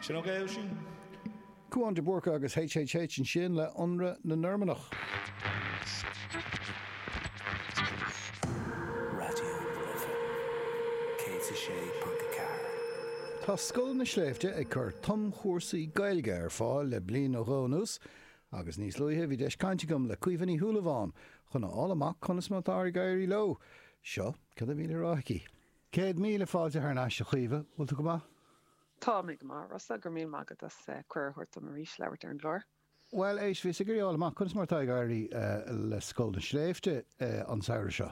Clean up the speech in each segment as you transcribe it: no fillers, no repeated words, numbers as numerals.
Sin ok, Oisín? Cúán de Búrca agus HHH ansin le Ionradh na Normannach. Raidió na Life 106.4. Tá Scoil na Sléibhte ag cur tumchúrsaí Gaeilge ar fáil le bliain nó dhó anuas agus níos luaithe bhí deis caint agam le Caoimhe Ní Shúilleabháin chun a fháil amach conas mar atá ag éirí leo. Seo cad a bhí le rá aici. 100,000 fáilte thar n-ais a Chaoimhe, bhfuil tú go maith? Tá mé go maith, a Rossa, go raibh míle maith agat as cuireadh a thabhairt dom arís labhairt ar an gclár. Bhuel, éist, bhíos ag iarraidh a fháil amach conas mar atá ag éirí le Scoil na Sléibhte an samhradh seo?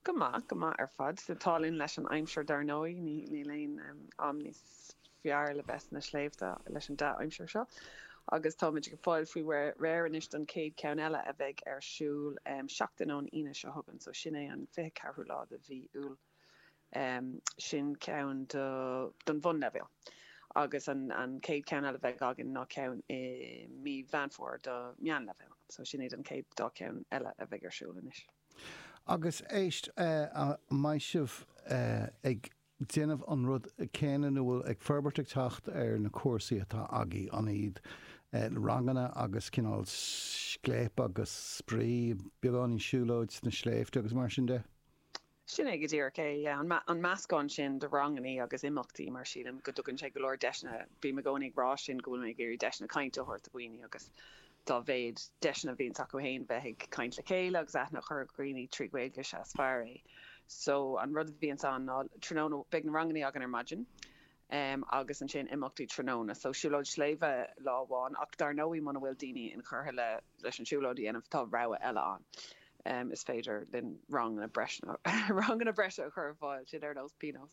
Go maith, go maith ar fad. An t-ádh linn leis an aimsir dar ndóigh, níl aon am níos fearr le bheith sna sléibhte leis an dea-aimsir seo. Agus táimid ag fáil faoi réir anois don chéad cheann eile a bheidh ar siúl seachtain ón Aoine seo chugainn, so sin é an 24ú lá de mhí Iúil. Sin ceann don bhunleibhéal. Agus an chéad cheann eile a bheidh againn ná ceann i mí Mheán Fómhair do meánleibhéal. So sin iad an chéad dá cheann eile a bheidh ar siúl anois. Agus éist, an mbeidh sibh ag déanamh an rud céanna nó bhfuil ag forbairt ag teacht ar na cúrsaí atá agaibh, an iad ranganna agus cineál scléip agus spraoi, beagáinín siúlóid sna sléibhte agus mar sin de? Sin é go díreach é, yeah. An meascán sin de rangannaí agus imeachtaí, mar sílim go dtugann sé go leor deiseanna, bím i gcónaí ag rá sin, go bhfuil mé ag iarraidh deiseanna cainte a thabhairt do dhaoine agus dá mhéad deiseanna a bhíonns acu féin bheith ag caint le chéile agus aithne a chur ar dhaoine trí Ghaeilge, is ea is fearr é. So, an rud a bhíonns ann ná tráthnóna, beidh na rangannaí againn ar maidin, agus ansin imeachtaí tráthnóna. So siúlóid sléibhe lá amháin ach dar ndóigh muna bhfuil daoine inchurtha le leis an siúlóid a dhéanamh tá rogha eile ann. Is féidir linn ranganna breise ranganna breise a chur ar fáil, sin ar nós pionós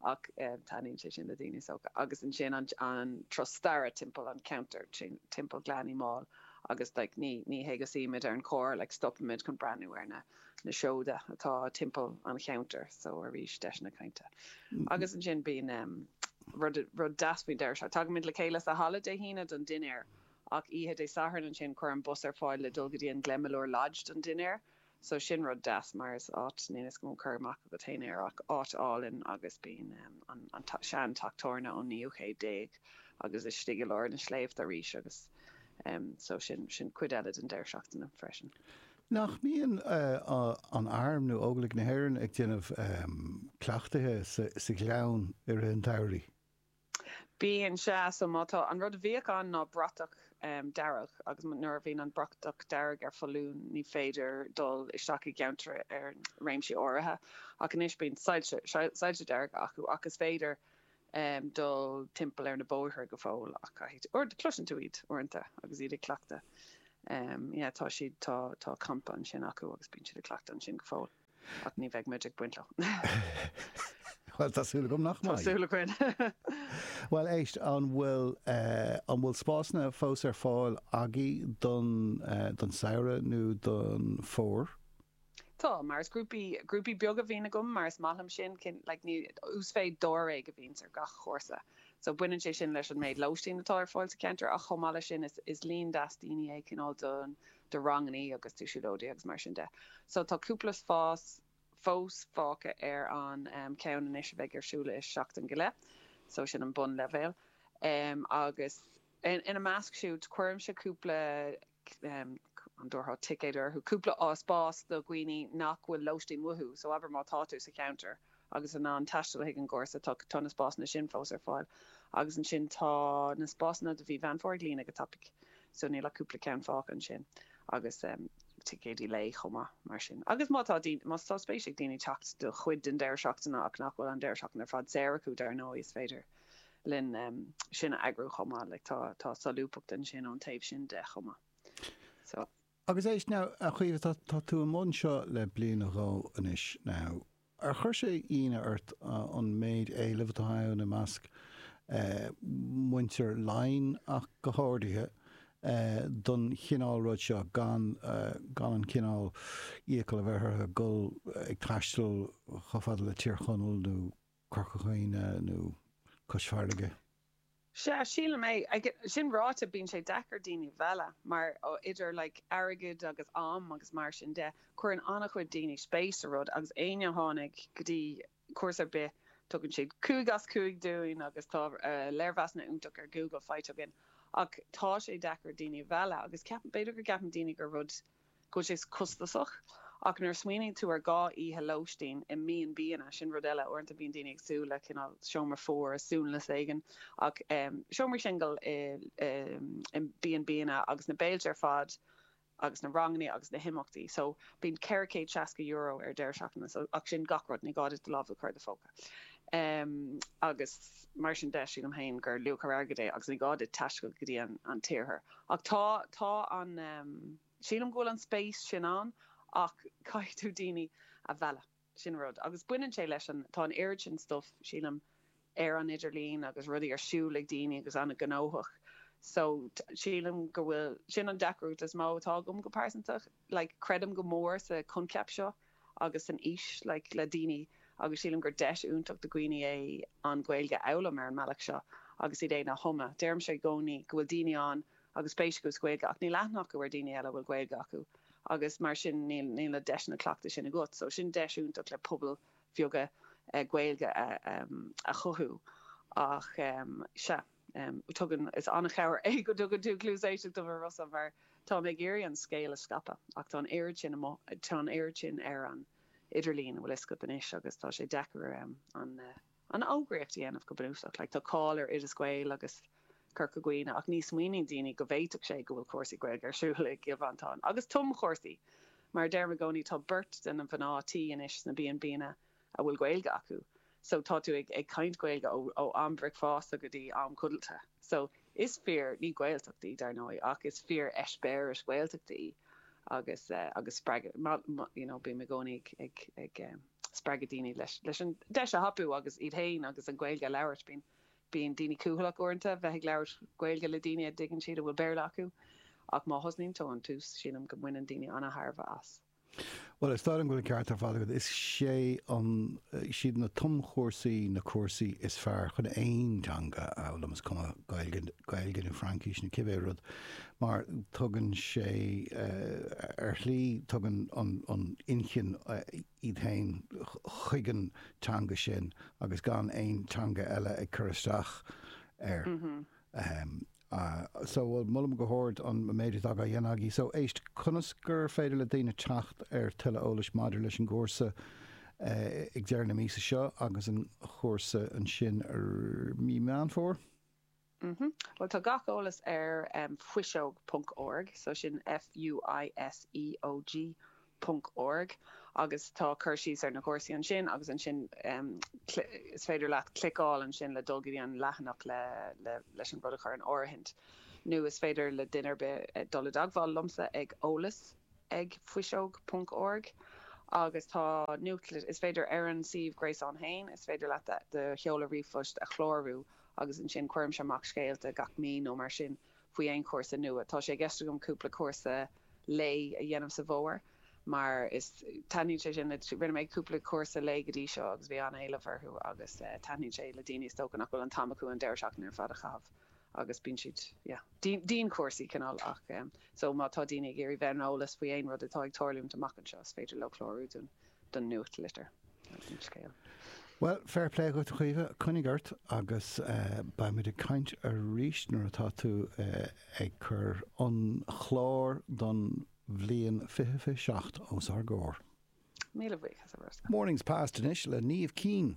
ach taitníonn sé sin le daoine so agus ansin an an turas staire timpeall an ceantar timpeall Ghleann Uí Máil agus like ní ní hé go suímid ar an carr like stopaimid chun breathnú ar na na seoda atá timpeall an cheantair so arís deiseanna cainte. Agus ansin bíonn rud rud deas faoin deireadh seachtaine. Tagaimid le chéile sa halla Dé hAoine don dinnéar ach oíche Dé Sathairn ansin cuirim bus ar fáil le dul go dtí an Glenmalure Lodge don dinnéar so sin rud deas mar is áit, níl 'fhios agam an bhfuil cur amach agat féin air ach áit álainn agus bíonn an an sean teach tábhairne ón naoú chéad déag agus istigh i lár na sléibhte arís agus so sin sin cuid eile den deireadh seachtaine freisin. Nach mbíonn an Arm nó Óglaigh na hÉireann ag déanamh cleachtaithe sa ghleann i rith an tsamhraidh? Bíonn, sea. So má tá, an rud a bhíodh ann ná bratach dearg agus nuair a bhíonn an bratach dearg ar foluain ní féidir dul isteach i gceantar ar réimsí áirithe. Ach anois bíonn soilse, soilse dearga acu ach is féidir dul timpeall ar na bóithre go fóill ach caithfidh tú, cloiseann tú iad uaireanta agus iad ag cleachtadh. Yeah, tá siad, tá, tá campa ansin acu agus bíonn siad ag cleachtadh ansin go fóill ach ní bheidh muid ag baint leo. Bhuel, tá súil agam nach mbeidh. Tá súil againn. Bhuel, éist, an bhfuil, an bhfuil spásanna fós ar fáil agaibh don, don samhradh nó don fómhar? Tá, mar is grúpaí, grúpaí beaga a bhíonn agam mar is maith liom sin, cinn, like ní, uasmhéid dáréag a bhíonns ar gach chúrsa. So baineann sé sin leis an méid lóistín atá ar fáil sa cheantar ach chomh maith leis sin is, is líon deas daoine é cineál don, do rangannaí agus do siúlóidí agus mar sin de. So tá cúpla spás fós fágtha ar an ceann anois a bheidh ar siúl i seachtain go leith, so sin an bunleibhéal. Agus ina measc siúd cuirimse cúpla an dtabharfá ticéad orthu, cúpla spás do dhaoine nach bhfuil lóistín uathu, so abair má tá tú sa cheantar agus in ann taisteal chuig an gcúrsa, tá tá na spásanna sin fós ar fáil. Agus ansin tá na spásanna do mhí Mheán Fómhair ag líonadh go tapaidh, so níl ach cúpla ceann fágtha ansin agus ticéidí lae chomh maith mar sin. Agus má tá daoine, má tá spéis ag daoine teacht do chuid den deireadh seachtaine ach nach bhfuil an deireadh seachtaine ar fad saor acu, dar ndóigh, is féidir linn sin a eagrú chomh maith. Like tá tá solúbthacht ansin ón taobh sin de chomh maith. So. Agus éist now, a Chaoimhe, tá tá tú i mbun seo le bliain nó dhó anois now. Ar chuir sé ionadh ort an méid éilimh atá ann i measc muintir Laighean ach go háirithe don chineál rud seo gan gan an cineál iachall a bheith orthu dul ag taisteal chomh fada le Tír Chonaill nó Corca Dhuibhne nó Cois Fharraige. Sea, sílim é. Sin ráite, bíonn sé deacair daoine a mhealladh mar idir like airgead agus am agus mar sin de, cuireann an-chuid daoine spéis sa rud agus éinne a tháinig go dtí cúrsa ar bith. Tugann siad 5 as 5 dúinn agus tá léirmheasanna iontach ar Google faighte againn. Ach tá sé deacair daoine a mhealladh agus ceapaim, b'fhéidir go gceapann daoine gur rud, go bhfuil sé costasach. Ach nuair a smaoiníonn tú ar 2 oíche lóistín i mB&Banna, sin rud eile, uaireanta bíonn daoine ag súil le cineál seomra fuar i suanlios éigin, ach seomraí singil i B&Banna agus na béilte ar fad agus na ranganna agus na himeachtaí. So bíonn €460 ar deireadh seachtaine, so ach sin gach rud, ní gá duit do lámh a chur i do phóca. Agus mar sin de, sílim féin gur luach ar airgead é agus ní gá duit taisteal go dtí an t-iarthar. Ach tá, tá an. Sílim go bhfuil an spéis sin ann ach caithfidh tú daoine a mhealladh, sin rud. Agus baineann sé leis an, tá an oiread sin stuff, sílim, ar an idirlíon agus rudaí ar siúl ag daoine agus an-ghnóthach. So, sílim go bhfuil, sin an deacracht is mó atá agam go pearsanta. Like, creidim go mór sa choincheap seo agus san fhís, like, le daoine agus sílim gur deis iontach do dhaoine é an Ghaeilge a fhoghlaim ar an mbealach seo agus iad féin a thumadh. Deirimse i gcónaí go bhfuil daoine ann agus spéis acu sa Ghaeilge ach níl aithne acu ar daoine eile a bhfuil Gaeilge acu agus mar sin níl níl na deiseanna cleachtaidh sin agat. So sin deis iontach le pobail bheaga Gaeilge a a chothú ach sea tugann is an-chabhair é go dtugann tú cluas éisteachta dom a Rossa mar tá mé ag iarraidh an scéal a scaipeadh ach tá an oiread sin amuigh tá an oiread sin ar an idirlíon an bhfuil fhios agat anois agus tá sé deacair an an fhógraíocht a dhéanamh go bunúsach. Like tá cáil ar Oideas Gael agus Corca Dhuibhne ach ní smaoiníonn daoine go bhféadfadh sé go bhfuil cúrsaí Gaeilge ar siúl i gCill Mhantáin. Agus tumchúrsaí! Mar a deirim i gcónaí tá beirt de na mná tí anois sna B&Banna a bhfuil Gaeilge acu. So tá tú ag ag caint Gaeilge ó ó am bricfeasta go dtí am codlata. So is fíor, ní Gaeltacht í dar ndóigh, ach is fíor eispéireas Gaeltachta í agus agus spreagadh, you know bím i gcónaí ag ag ag spreagadh daoine leis leis an deis a thapú agus iad féin agus an Ghaeilge a labhairt. Bíonn bíonn daoine cúthaileach uaireanta bheith ag labhairt Gaeilge le daoine a dtuigeann siad a bhfuil Béarla acu ach má thosnaíonn tú ón tús sílim go mbaineann daoine an-thairbhe as. Bhuel, is dóigh liom go bhfuil an ceart ar fad agat. Is é an, siad na tumchúrsaí na cúrsaí is fearr chun aon teanga a fhoghlaim, is cuma Gaeilge, Gaeilge nó Fraincis nó cibé rud, mar tugann sé, ar shlí, tugann an, an inchinn iad féin chuig an teanga sin agus gan aon teanga eile ag cur isteach air. So, bhuel, molaim go hard an méid atá á dhéanamh agaibh. So, éist, conas gur féidir le daoine teacht ar tuilleadh eolais maidir leis an gcúrsa ag deireadh na míosa seo agus an chúrsa ansin mí Meán Fómhair? Mhm. Bhuel, tá gach eolas ar fuiseog ponc org, so sin F-U-I-S-E-O-G ponc org, agus tá cur síos ar na cúrsaí ansin agus ansin is féidir leat cliceáil ansin le dul go dtí an leathanach le leis an rud a chur in áirithint. Nó is féidir le duine ar bith dul i dteagmháil liomsa ag eolas ag fuiseog ponc org agus tá nuachtlitir, is féidir ar an suíomh gréasáin féin, is féidir leat do sheoladh ríomhphoist a chlárú agus ansin cuirimse amach scéalta gach mí nó mar sin faoi aon chúrsa nua. Tá sé i gceist agam cúpla cúrsa lae a dhéanamh sa bhfómhar mar is taitníonn sé sin le, rinne mé cúpla cúrsa lae go dtí seo agus bhí an-éileamh orthu agus taitníonn sé le daoine is dócha nach bhfuil an t-am acu an deireadh seachtaine ar fad a chaitheamh agus bíonn siad, yeah, dianchúrsaí cineál ach so má tá daoine ag iarraidh bheith ar an eolas faoi aon rud atá ag tarlúint amach anseo is féidir leo clárú don don nuachtlitir agus an scéal. Bhuel, fair play dhuit a Chaoimhe, coinnigh ort agus beimid ag caint arís nuair atá tú ag cur an chlár don bhliain 2027 os ár gcomhair. Míle buíochas a Rossa. Mornings Past anois le Niamh Keane.